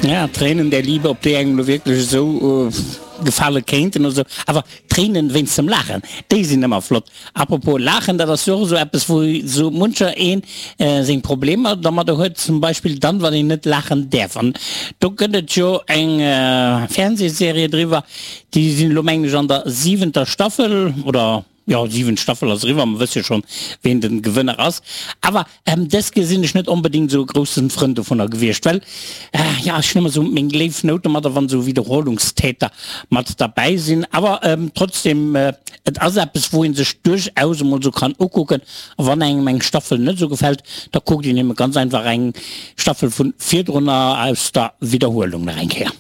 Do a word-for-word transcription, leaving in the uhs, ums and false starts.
Ja, Tränen der Liebe, ob déi engem lo wierklech esou gefale kéinten oder sou. Awer Tréinen wéinst dem Laachen, déi sinn ëmmer flott. Apropos Laachen, dat ass jo och esou eppes, wou sou muncher een seng Problemer dermadder huet, zum Beispill dann, wann een net laachen däerf. An do gëtt et jo eng Fernsehserie driwwer, déi sinn elo, mengen ech, an der siwenter Staffel oder, jo, siwent Staffel ass eriwwer, mer wësse jo schonn, ween den Gewënner ass. Awer dës Keer sinn ech net onbedéngt esou e groussen Frënd dovunner gewiescht, well, jo, ech hunn ëmmer esou meng léif Nout domadder, wann esou Wiederholungstäter mat derbäi sinn. Awer trotzdem, et ass eppes, wou ee sech duerchaus emol esou kann ukucken. A wann engem eng Staffel net esou gefält, da kuckt een ebe ganz einfach eng Staffel vu virdrunner aus der Wiederhuelung nach eng Kéier.